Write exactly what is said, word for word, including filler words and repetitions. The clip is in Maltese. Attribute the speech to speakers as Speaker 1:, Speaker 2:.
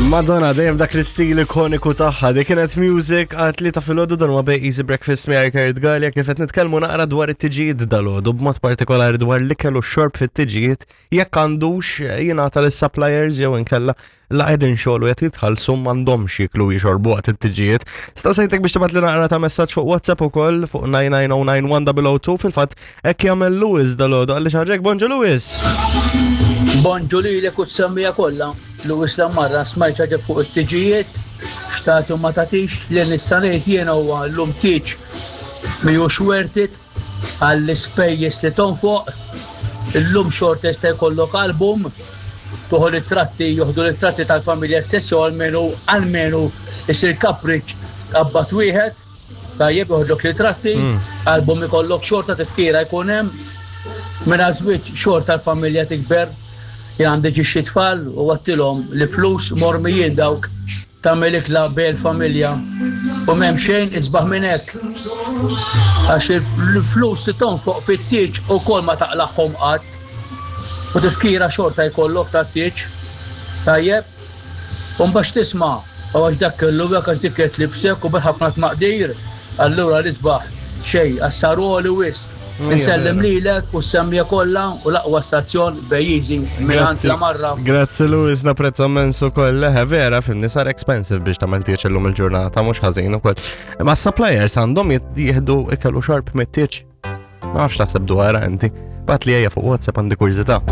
Speaker 1: Madonna, dejjem dak l-istil ikoniku tagħha, dik kienet Music għat-tlieta filgħodu. Dan huwa Bej Easy Breakfast miegħi Kurt Galea, kif qed nitkellmu naqra dwar it-tiġijiet dalgħodu, b'mod partikolari dwar l-ikel u x-xorb fit-tiġijiet, jekk għandux jingħata lis-suppliers jew inkella la qegħdin xogħol u qed jitħallsu m'għandhomx jiklu jixorbu waqt it-tiġijiet. Staqsejtek biex tibgħat li naqra ta' messaġġ fuq WhatsApp ukoll fuq nine nine zero nine one zero zero two. Fil-fatt hekk jagħmel Lewis dalgħodu għalli xaġek. Bonġu, Lewis.
Speaker 2: Bonġu lilek u s-semmiegħa kollha. Lewis Lamarra, smajt ħaġa fuq it-tiġijiet, x'tagħti u ma tagħtix. Li nista' ngħid jiena huwa llum tieġ mhijiex worth it għall-ispejjeż li tonfoq. Illum xorta jista' jkollok album, tuħu ritratti, joħdu ritratti tal-familja stess, jew almenu almenu isir kapriċ tqabbad wieħed, tajjeb, joħdok ritratti, album ikollok xorta, tifkira jkun hemm. Minn żwieġ xorta l-familja tikber, jien għandi ġi tfal u għedtilhom li flus mormijin dawk, tagħmel ikla bejn familja u m'hemm xejn isbaħ minn hekk. Għax il-flus li tonfoq fit-tieġ ukoll ma taqlagħhom qatt. U tifkira xorta jkollok ta' tieġ. Tajjeb. U mbagħad tisma' u għax dak kellu hekk, għax dik qed libsek u bil-ħafna tmaqdir. Allura l-isbaħ xejn, għax saru għoli wisq. Insellem lilek u s-semmiegħa kollha u l-aqwa stazzjon Bejjiżi minn la marra.
Speaker 1: Grazzi, Lewis, napprezza immens ukoll. Leħe, vera, fimni, sar expensive biex tagħmel tieġ illum il-ġurnata, mhux ħażin ukoll. Ma suppliers għandhom jieħdu ikel u xorb mit-tieġ? Ma nafx taħseb dwarha inti. Ibgħatli ejja fuq WhatsApp, għandi kurżità.